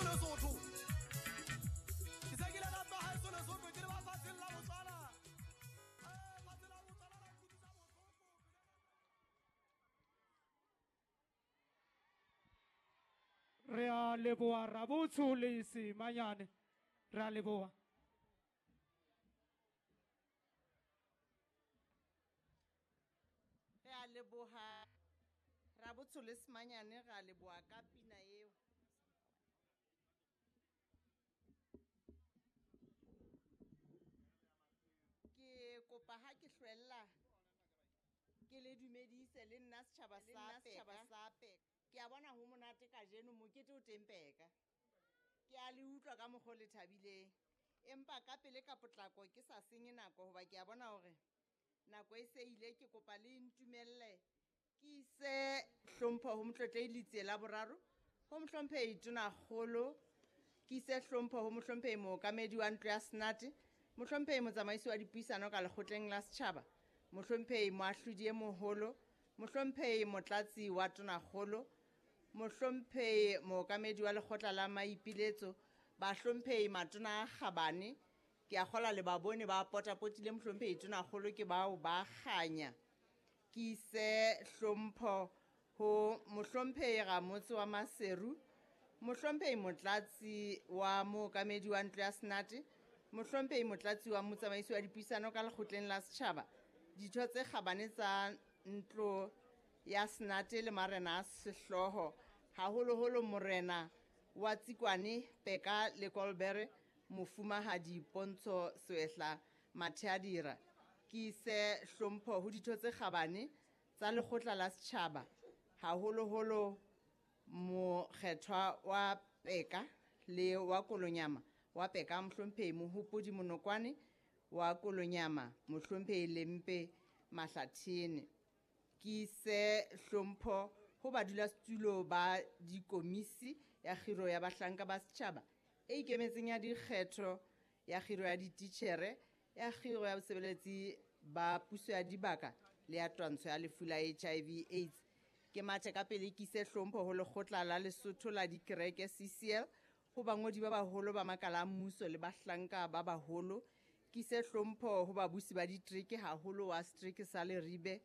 Lesotho. Ke se ke ile ka tswa haeso Lesotho ke le ba fatsheng la Botswana. Fatshe la Botswana la nkutlwisa bohloko. Re a leboha Rabotsho le Semanyane. Re a leboha. Re a leboha Rabotsho le Semanyane, re a leboha ka pina eo. Ke kopa ha ke hlwella ke le dumedise le nna setjhaba sa Peka. Ke a bona ho monate kajeno, mokete o teng Peka. Ke a le utlwa ka mokgwa o le thabileng. Empa ka pele ka potlako ke sa senye nako hoba ke a bona hore nako e se ile, ke kopa le ntumelle ke ise hlompho ho Motlotlehi Letsie la boraro, ho Mohlomphehi Tonakgolo, ke ise hlompho ho Mohlomphehi Mookamedi wa Ntlo ya Senate, Mohlomphehi Motsamaisi wa Dipuisano ka Lekgotleng la Setjhaba, Mohlomphehi Moahlodi e Moholo, Mohlomphehi Motlatsi wa Tonakgolo, Mohlomphehi Mookamedi wa Lekgotla la Maipiletso, Bahlomphehi Matona a Kgabane, ke a kgola le ba bone ba potapotile Mohlomphehi Tonakgolo ke bao ba kganya. Ke ise hlompho ho Mohlomphehi Ramotse wa Maseru, Mohlomphehi Motlatsi wa Mookamedi wa Ntlo ya Senate, Mohlomphehi Motlatsi wa Motsamaisi wa Dipuisano ka Lekgotleng la Setjhaba, ditho tse kgabane tsa Ntlo ya Senate le marena a sehlooho, haholoholo morena wa Tsikwane Peka le Kolbere, Mofumahadi Pontsho Swehla Matheadira. Ke ise hlompho ho ditho tse kgabane tsa Lekgotla la Setjhaba, haholoholo mokgethwa wa Peka le wa Kolonyama wa Peka, Mohlomphehi Mohopodi Monokwane wa Kolonyama, Mohlomphehi Lempe Mahlathene. Ke ise hlompho ho badulasetulo ba dikomisi ya kgiro ya bahlanka ba setjhaba e ikemetseng ya dikgetho, ya kgiro ya dititjhere, ya kgiro ya bosebeletsi ba puso ya dibaka le ya twantsho ya lefu la HIV AIDS. Ke mathe ka pele ke ise hlompho ho Lekgotla la Lesotho la Dikereke CCL, ho bangodi ba baholo ba makala a mmuso le bahlanka ba baholo. Ke ise hlompho ho babusi ba ditereke, haholo wa setereke sa Leribe,